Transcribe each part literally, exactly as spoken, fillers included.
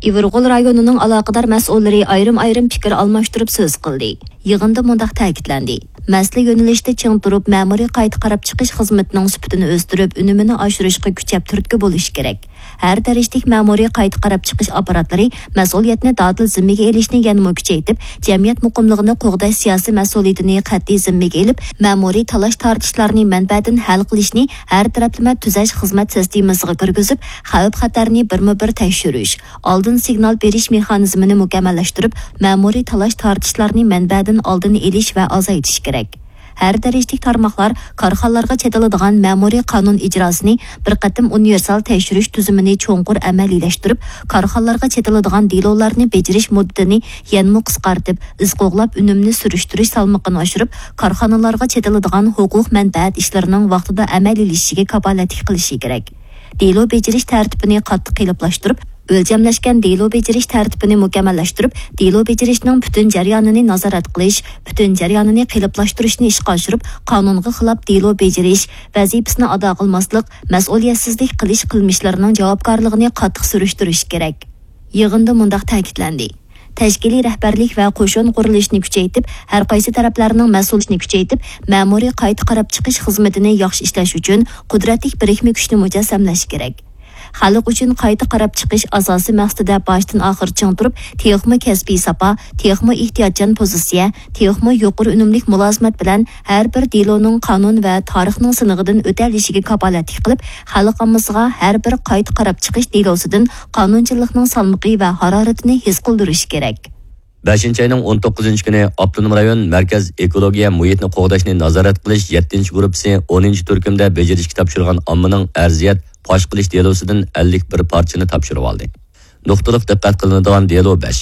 ئىۋىرغول رايونىنىڭ ئالاقىدار مەسئۇللىرى ئايرىم-ئايرىم پىكىر ئالماشتۇرۇپ سۆز قىلدى. يىغىندا مۇنداق تەكىتلەندى: مەسىلە يۆنىلىشتە چىڭ تۇرۇپ، مەمۇرىي قايتا قاراپ چىقىش خىزمىتىنىڭ سۈپىتىنى ئۆستۈرۈپ، ئۈنۈمىنى ئاشۇرۇشقا كۈچەپ تۈرتكە بولۇش كېرەك. ھەر دەرىجىلىك مەمۇرىي قايتا قاراپ چىقىش ئاپپاراتلىرى مەسئۇلىيەتنى دادىل زىممىگە ئېلىشنى يەنىمۇ كۈچەيتىپ، جەمئىيەت مۇقىملىقىنى قوغداش سىياسىي مەسئۇلىيىتىنى قەتئىي زىممىگە ئېلىپ، مەمۇرىي تالاش-تارتىشلارنى مەنبەدىن ھەل قىلىشنى ھەر تەرەپلىمە تۈزەش خىزمەت سىستېمىسىغا كىرگۈزۈپ، خەۋپ-خەتەرنى بىرمۇبىر تەكشۈرۈش، ئالدىن سىگنال بېرىش مېخانىزمىنى مۇكەممەللەشتۈرۈپ، مەمۇرىي تالاش-تارتىشلارنى مەنبەدىن ئالدىن ئېلىش ۋە ئازايتىش كېرەك. ھەر دەرىجىلىك تارماقلار كارخانىلارغا چېتىلىدىغان مەمۇرىي قانۇن ئىجراسىنى بىر قېتىم ئۇنىۋېرسال تەكشۈرۈش تۈزۈمىنى چوڭقۇر ئەمەلىيلەشتۈرۈپ، كارخانىلارغا چېتىلىدىغان دېلولارنى بېجىرىش مۇددىتىنى يەنىمۇ قىسقارتىپ، ئىز قوغلاپ ئۈنۈمنى سۈرۈشتۈرۈش سالمىقىنى ئاشۇرۇپ، كارخانىلارغا چېتىلىدىغان ھوقۇق مەنپەئەت ئىشلىرىنىڭ ۋاقتىدا ئەمەلىيلىشىشىگە كاپالەتلىك قىلىشى كېرەك. دېلو بېجىرىش تەرتىپىنى قاتتىق قېلىپلاشتۇرۇپ، ئۆلچەملەشكەن دېلو بېجىرىش تەرتىپىنى مۇكەممەللەشتۈرۈپ، دېلو بېجىرىشنىڭ پۈتۈن جەريانىنى نازارەت قىلىش، پۈتۈن جەريانىنى قېلىپلاشتۇرۇشنى ئىشقا ئاشۇرۇپ، قانۇنغا خىلاپ دېلو بېجىرىش، ۋەزىپىسىنى ئادا قىلماسلىق، مەسئۇلىيەتسىزلىك قىلىش قىلمىشلىرىنىڭ جاۋابكارلىقىنى قاتتىق سۈرۈشتۈرۈش كېرەك. يىغىندا مۇنداق تەكىتلەندى: تەشكىلىي رەھبەرلىك ۋە قوشۇن قۇرۇلۇشىنى كۈچەيتىپ، ھەر قايسى تەرەپلەرنىڭ مەسئۇلىيىتىنى كۈچەيتىپ، مەمۇرىي قايتا قاراپ چىقىش خىزمىتىنى ياخشى ئىشلەش ئۈچۈن قۇدرەتلىك بىرىكمە كۈچنى مۇجەسسەملەش كېرەك. خەلق ئۈچۈن قايتا قاراپ چىقىش ئاساسىي مەقسىتىدە باشتىن ئاخىر چىڭ تۇرۇپ، تېخىمۇ كەسپىي ساپا، تېخىمۇ ئېھتىياتچان پوزىتسىيە، تېخىمۇ يۇقىرى ئۈنۈملۈك مۇلازىمەت بىلەن ھەر بىر دېلونىڭ قانۇن ۋە تارىخنىڭ سىنىغىدىن ئۆتەلىشىگە كاپالەتلىك قىلىپ، خەلق ئاممىسىغا ھەر بىر قايتا قاراپ چىقىش دېلوسىدىن قانۇنچىللىقنىڭ سالمىقى ۋە ھارارىتىنى ھېس قىلدۇرۇشى كېرەك. بەشىنچى ئاينىڭ ئون توققۇزىنچى كۈنى ئاپتونوم رايون مەركەز ئېكولوگىيە مۇھىتنى قوغداشنى نازارەت قىلىش يەتتىنچى گۇرۇپپىسى ئونىنچى تۈركۈمدە بېجىرىشكە تاپشۇرغان ئاممىنىڭ ئەرزىيەت پاش قىلىش دېلوسىدىن ئەللىك بىر پارچىنى تاپشۇرۇۋالدى. نۇقتىلىق دىققەت قىلىنىدىغان دېلو بەش.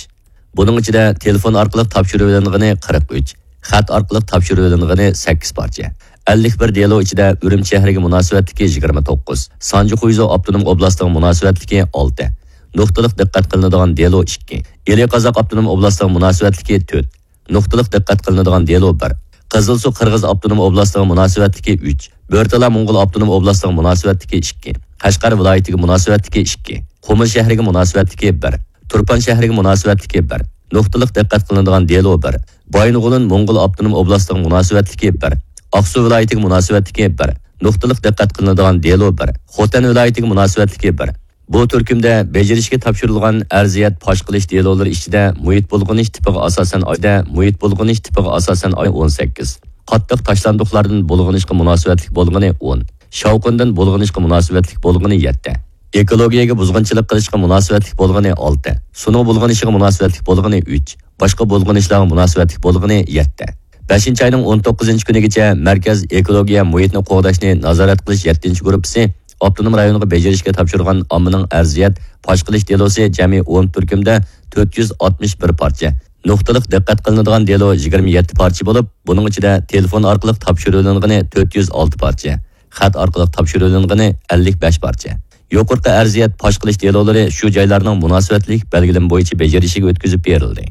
بۇنىڭ ئىچىدە تېلېفون ئارقىلىق تاپشۇرۇۋېلىنغىنى قىرىق ئۈچ، خەت ئارقىلىق تاپشۇرۇۋېلىنغىنى سەككىز پارچە. ئەللىك بىر دېلو ئىچىدە ئۈرۈمچى شەھىرىگە مۇناسىۋەتلىكى يىگىرمە توققۇز، سانجى خۇيزۇ ئاپتونوم ئوبلاستىغا مۇناسىۋەتلىكى ئالتە، نۇقتىلىق دىققەت قىلىنىدىغان دېلو ئىككى، ئىلى قازاق ئاپتونوم ئوبلاستىغا مۇناسىۋەتلىكى تۆت، نۇقتىلىق دىققەت قىلىنىدىغان دېلو بىر، قىزىلسۇ قىرغىز ئاپتونوم ئوبلاستىغا مۇناسىۋەتلىكى ئۈچ، بۆرتالا موڭغۇل ئاپتونوم ئوبلاستىغا مۇناسىۋەتلىكى ئىككى، قەشقەر ۋىلايىتىگە مۇناسىۋەتلىكى ئىككى، قۇمۇل شەھىرىگە مۇناسىۋەتلىكى بىر، تۇرپان شەھىرىگە مۇناسىۋەتلىكى بىر، نۇقتىلىق دىققەت قىلىنىدىغان دېلو بىر، بايىنغولىن موڭغۇل ئاپتونوم ئوبلاستىغا مۇناسىۋەتلىكى بىر، ئاقسۇ ۋىلايىتىگە مۇناسىۋەتلىكى بىر، نۇقتىلىق دىققەت قىلىنىدىغان دېلو بىر، خوتەن ۋىلايىتىگە مۇناسىۋەتلىكى بىر. بۇ تۈركۈمدە بېجىرىشكە تاپشۇرۇلغان ئەرزىيەت پاش قىلىش دېلولىرى ئىچىدە مۇھىت بۇلغىنىش تىپىغا ئاساسەن ئايدا، مۇھىت بۇلغىنىش تىپىغا ئاساسەن ئاي ئون سەككىز، قاتتىق تاشلاندۇقلاردىن بۇلغىنىشقا مۇناسىۋەتلىك بولغىنى ئون، شاۋقۇندىن بۇلغىنىشقا مۇناسىۋەتلىك بولغىنى يەتتە، ئېكولوگىيەگە بۇزغۇنچىلىق قىلىشقا مۇناسىۋەتلىك بولغىنى ئالتە، سۇنىڭ بۇلغىنىشىغا مۇناسىۋەتلىك بولغىنى ئۈچ، باشقا بۇلغىنىشلارغا مۇناسىۋەتلىك بولغىنى يەتتە. بەشىنچى ئاينىڭ ئون توققۇزىنچى كۈنىگىچە مەركەز ئېكولوگىيە مۇھىتنى قوغداشنى نازارەت قىلىش يەتتىنچى گۇرۇپپىسى ئاپتونوم رايونغا بېجىرىشكە تاپشۇرغان ئاممىنىڭ ئەرزىيەت پاش قىلىش دېلوسى جەمئىي ئون تۈركۈمدە تۆت يۈز ئاتمىش بىر پارچە، نۇقتىلىق دىققەت قىلىنىدىغان دېلو يىگىرمە يەتتە پارچە بولۇپ، بۇنىڭ ئىچىدە تېلېفون ئارقىلىق تاپشۇرۇۋېلىنغىنى تۆت يۈز ئالتە پارچە، خەت ئارقىلىق تاپشۇرۇۋېلىنغىنى ئەللىك بەش پارچە. يۇقىرىقى ئەرزىيەت پاش قىلىش دېلولىرى شۇ جايلارنىڭ مۇناسىۋەتلىك بەلگىلىمە بويىچە بېجىرىشىگە ئۆتكۈزۈپ بېرىلدى.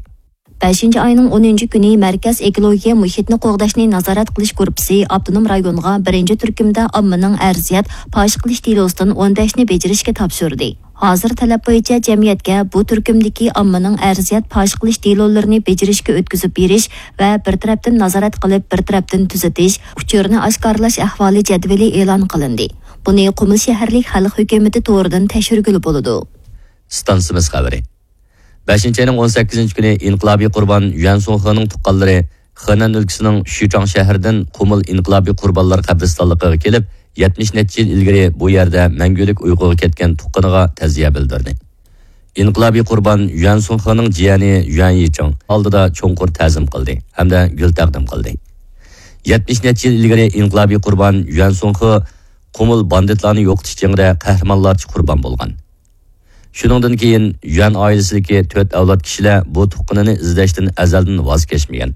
بەشىنچى ئاينىڭ ئونىنچى كۈنى مەركەز ئېكولوگىيە مۇھىتنى قوغداشنى نازارەت قىلىش گۇرۇپپىسى ئاپتونوم رايونغا بىرىنچى تۈركۈمدە ئاممىنىڭ ئەرزىيەت پاش قىلىش دېلوسىدىن ئون بەشنى بېجىرىشكە تاپشۇردى. ھازىر تەلەپ بويىچە جەمئىيەتكە بۇ تۈركۈمدىكى ئاممىنىڭ ئەرزىيەت پاش قىلىش دېلولىرىنى بېجىرىشكە ئۆتكۈزۈپ بېرىش ۋە بىر تەرەپتىن نازارەت قىلىپ، بىر تەرەپتىن تۈزىتىش، ئۇچۇرنى ئاشكارىلاش ئەھۋالى جەدۋىلى ئېلان قىلىندى. بۇنى قۇمۇل شەھەرلىك خەلق ھۆكۈمىتى تورىدىن تەكشۈرگىلى بولىدۇ. ئىستانسىمىز خەۋىرى. بەشىنچى ئاينىڭ ئون سەككىزىنچى كۈنى ئىنقىلابىي قۇربان يۈەن سۇڭخېنىڭ تۇغقانلىرى خېنەن ئۆلكىسىنىڭ شۈچاڭ شەھىرىدىن قۇمۇل ئىنقىلابىي قۇربانلار قەبرىستانلىقىغا كېلىپ، يەتمىش نەچچە يىل ئىلگىرى بۇ يەردە مەڭگۈلۈك ئۇيقۇغا كەتكەن تۇغقىنىغا تەزىيە بىلدۈردى. ئىنقىلابىي قۇربان يۈەن سۇڭخېنىڭ جىيەنى يۈەن يىچىڭ ئالدىدا چوڭقۇر تەزىم قىلدى ھەمدە گۈل تەقدىم قىلدى. يەتمىش نەچچە يىل ئىلگىرى ئىنقىلابىي قۇربان يۈەن سۇڭخې قۇمۇل باندىتلارنى يوقىتىش جېڭىدە قەھرىمانلارچە قۇربان بولغان. شۇنىڭدىن كېيىن يۈەن ئائىلىسىدىكى تۆت ئەۋلاد كىشىلەر بۇ تۇغقىنىنى ئىزدەشتىن ئەزەلدىن ۋاز كەچمىگەن.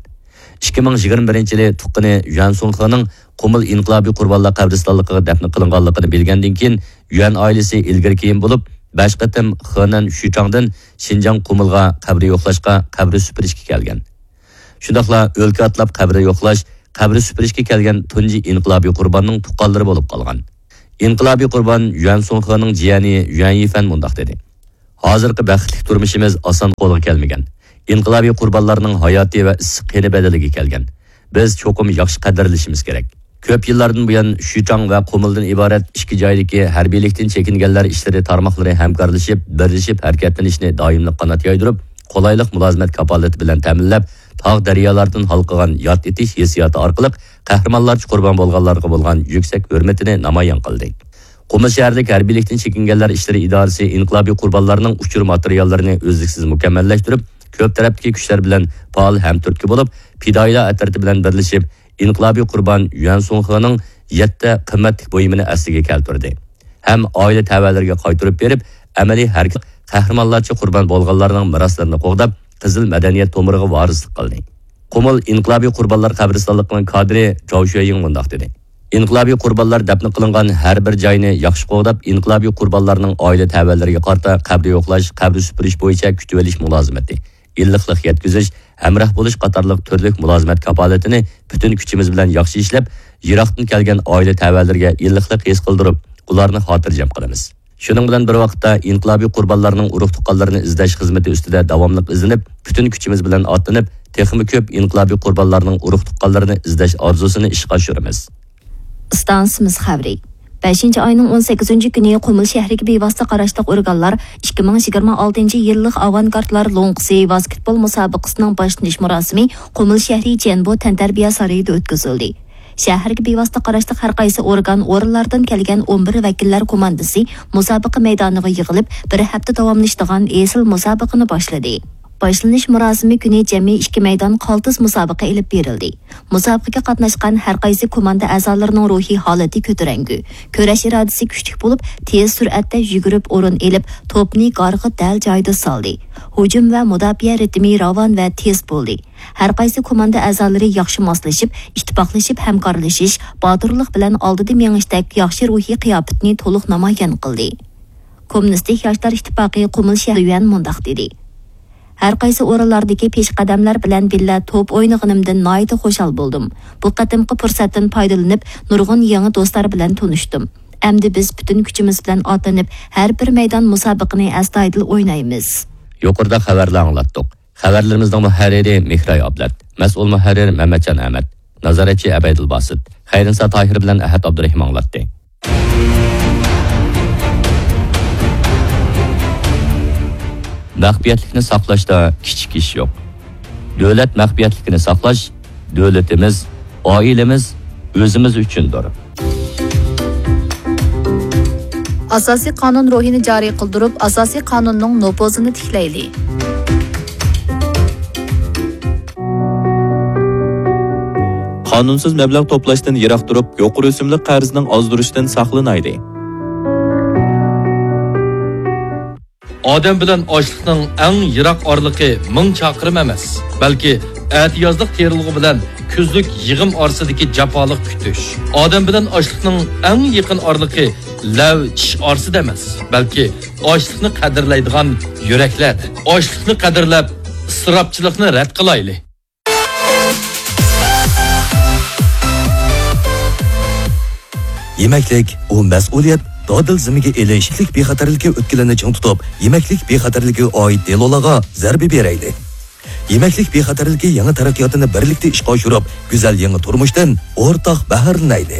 ئىككى مىڭ يىگىرمە بىرىنچى يىلى تۇغقىنى يۈەن سۇڭخېنىڭ قۇمۇل ئىنقىلابىي قۇربانلار قەبرىستانلىقىغا دەپنە قىلىنغانلىقىنى بىلگەندىن كېيىن، يۈەن ئائىلىسى ئىلگىرى كېيىن بولۇپ، بەش قېتىم خېنەن شۈچاڭدىن شىنجاڭ قۇمۇلغا قەبرە يوقلاشقا، قەبرە سۈپۈرۈشكە كەلگەن. شۇنداقلا ئۆلكە ئاتلاپ قەبرە يوقلاش، قەبرە سۈپۈرۈشكە كەلگەن تۇنجى ئىنقىلابىي قۇرباننىڭ تۇغقانلىرى بولۇپ قالغان. ئىنقىلابىي قۇربان يۈەن سۇڭخېنىڭ جىيەنى يۈەن يىفەن مۇنداق دېدى: ھازىرقى بەختلىك تۇرمۇشىمىز ئاسان قولغا كەلمىگەن. ئىنقىلابىي قۇربانلارنىڭ ھاياتى ۋە ئىسسىق قېنى بەدىلىگە كەلگەن. بىز چوقۇم ياخشى قەدىرلىشىمىز كېرەك. كۆپ يىللاردىن بۇيان شىچاڭ ۋە قۇمۇلدىن ئىبارەت ئىككى جايدىكى ھەربىيلىكتىن چېكىنگەنلەر ئىشلىرى تارماقلىرى ھەمكارلىشىپ، بىرلىشىپ ھەرىكەتلىنىشنى دائىملىق قانات يايدۇرۇپ، قولايلىق مۇلازىمەت كاپالىتى بىلەن تەمىنلەپ، تاغ دەريالاردىن ھالقىغان ياد ئېتىش ھېسسىياتى ئارقىلىق قەھرىمانلارچە قۇربان بولغانلارغا بولغان يۈكسەك ھۆرمىتىنى نامايان قىلدى. قۇمۇل شەھەرلىك ھەربىيلىكتىن چېكىنگەنلەر ئىشلىرى ئىدارىسى ئىنقىلابىي قۇربانلارنىڭ ئۇچۇر ماتېرىياللىرىنى ئۈزلۈكسىز مۇكەممەللەشتۈرۈپ، كۆپ تەرەپتىكى كۈچلەر بىلەن پائال ھەمتۈرتكە بولۇپ، پىدائىيلار ئەترىتى بىلەن بىرلىشىپ، ئىنقىلابىي قۇربان يۈەن سۇڭخېنىڭ يەتتە قىممەتلىك بۇيۇمىنى ئەسلىگە كەلتۈردى ھەم ئائىلە تەۋەلىرىگە قايتۇرۇپ بېرىپ، ئەمەلىي ھەرىكەت قەھرىمانلارچە قۇربان بولغانلارنىڭ مىراسلىرىنى قوغداپ، قىزىل مەدەنىيەت تومۇرىغا ۋارىسلىق قىلدى. قۇمۇل ئىنقىلابىي قۇربانلار قەبرىستانلىقىنىڭ كادىرى جاۋ شۈەيىڭ مۇنداق دېدى: ئىنقىلابىي قۇربانلار دەپنە قىلىنغان ھەر بىر جاينى ياخشى قوغداپ، ئىنقىلابىي قۇربانلارنىڭ ئائىلە تەۋەلىرىگە قارىتا قەبرە يوقلاش، قەبرە سۈپۈرۈش بويىچە كۈتۈۋېلىش مۇلازىمىتى، ئىللىقلىق يەتكۈزۈش، ھەمراھ بولۇش قاتارلىق تۈرلۈك مۇلازىمەت كاپالىتىنى پۈتۈن كۈچىمىز بىلەن ياخشى ئىشلەپ، يىراقتىن كەلگەن ئائىلە تەۋەلىرىگە ئىللىقلىق ھېس قىلدۇرۇپ، ئۇلارنى خاتىرجەم قىلىمىز. شۇنىڭ بىلەن بىر ۋاقىتتا، ئىنقىلابىي قۇربانلارنىڭ ئۇرۇق-تۇغقانلىرىنى ئىزدەش خىزمىتى ئۈستىدە داۋاملىق ئىزدىنىپ، پۈتۈن كۈچىمىز بىلەن ئاتلىنىپ، تېخىمۇ كۆپ ئىنقىلابىي قۇربانلارنىڭ ئۇرۇق-تۇغقانلىرىنى ئىزدەش ئارزۇسىنى ئىشقا ئاشۇرىمىز. ئىستانسىمىز خەۋىرى. بەشىنچى ئاينىڭ ئون سەككىزىنچى كۈنى قۇمۇل شەھىرىگە بىۋاسىتە قاراشلىق ئورگانلار ئىككى مىڭ يىگىرمە ئالتىنچى يىللىق ئاۋانگارتلار لوڭقىسى ۋاسكېتبول مۇسابىقىسىنىڭ باشلىنىش مۇراسىمى قۇمۇل شەھىرى جيەنبو تەنتەربىيە سارىيىدا ئۆتكۈزۈلدى. شەھەرگە بىۋاسىتە قاراشلىق ھەر قايسى ئورگان، ئورۇنلاردىن كەلگەن ئون بىر ۋەكىللەر كوماندىسى مۇسابىقە مەيدانىغا يىغىلىپ، بىر ھەپتە داۋاملىشىدىغان ئېسىل مۇسابىقىنى باشلىدى. باشلىنىش مۇراسىمى كۈنى جەمئىي ئىككى مەيدان قالتىس مۇسابىقە ئېلىپ بېرىلدى. مۇسابىقىگە قاتناشقان ھەر قايسى كوماندا ئەزالىرىنىڭ روھىي ھالىتى كۆتۈرەڭگۈ، كۈرەش ئىرادىسى كۈچلۈك بولۇپ، تېز سۈرئەتتە يۈگۈرۈپ ئورۇن ئېلىپ، توپنى گارغا دەل جايىدا سالدى. ھۇجۇم ۋە مۇداپىئە رىتىمى راۋان ۋە تېز بولدى. ھەر قايسى كوماندا ئەزالىرى ياخشى ماسلىشىپ، ئىتتىپاقلىشىپ ھەمكارلىشىش، باتۇرلۇق بىلەن ئالدىدا مېڭىشتەك ياخشى روھىي قىياپىتىنى تولۇق نامايان قىلدى. كوممۇنىستىك ياشلار ئىتتىپاقى قۇمۇل شەھىرى يۈەن مۇنداق دېدى: ھەر قايسى ئورۇنلاردىكى پېشقەدەملەر بىلەن بىللە توپ ئوينىغىنىمدىن ناھايىتى خۇشال بولدۇم. بۇ قېتىمقى پۇرسەتتىن پايدىلىنىپ، نۇرغۇن يېڭى دوستلار بىلەن تونۇشتۇم. ئەمدى بىز پۈتۈن كۈچىمىز بىلەن ئاتلىنىپ، ھەر بىر مەيدان مۇسابىقىنى ئەستايىدىل ئوينايمىز. يۇقىرىدا خەۋەرلەر ئاڭلاتتۇق. خەۋەرلىرىمىزنىڭ مۇھەررىرى مېھراي ئابلەت، مەسئۇل مۇھەررىر مەمەتجان ئەمەت، نازارەتچى ئەبەيدىل باسىت، خەيرىنسا تاھىر بىلەن ئەھەت ئابدۇرېھىم ئاڭلاتتى. مەخپىيەتلىكنى ساقلاشتا كىچىك ئىش يوق. دۆلەت مەخپىيەتلىكىنى ساقلاش دۆلىتىمىز، ئائىلىمىز، ئۆزىمىز ئۈچۈندۇر. ئاساسىي قانۇن روھىنى جارى قىلدۇرۇپ، ئاساسىي قانۇننىڭ نوپۇزىنى تىكلەيلى. قانۇنسىز مەبلەغ توپلاشتىن يىراق تۇرۇپ، يۇقىرى ئۆسۈملۈك قەرزنىڭ ئازدۇرۇشىدىن ساقلىنايلى. ئادەم بىلەن ئاشلىقنىڭ ئەڭ يىراق ئارىلىقى مىڭ چاقىرىم ئەمەس، بەلكى ئەتىيازلىق تېرىلغۇ بىلەن كۈزلۈك يىغىم ئارىسىدىكى جاپالىق كۈتۈش. ئادەم بىلەن ئاشلىقنىڭ ئەڭ يېقىن ئارىلىقى لەۋ چىش ئارىسىدا ئەمەس، بەلكى ئاشلىقنى قەدىرلەيدىغان يۈرەكلەردە. ئاشلىقنى قەدىرلەپ، ئىسراپچىلىقنى رەت قىلايلى. يېمەكلىك، ئۇ مەسئۇلىيەت، دادىل زىممىگە ئېلىش، يېمەكلىك بىخەتەرلىكى ئۆتكىلىنى چىڭ تۇتۇپ، يېمەكلىك بىخەتەرلىكىگە ئائىت دېلولارغا زەربە بېرەيلى. يېمەكلىك بىخەتەرلىكى يېڭى تەرەققىياتىنى بىرلىكتە ئىشقا ئاشۇرۇپ، گۈزەل يېڭى تۇرمۇشتىن ئورتاق بەھرىلىنەيلى.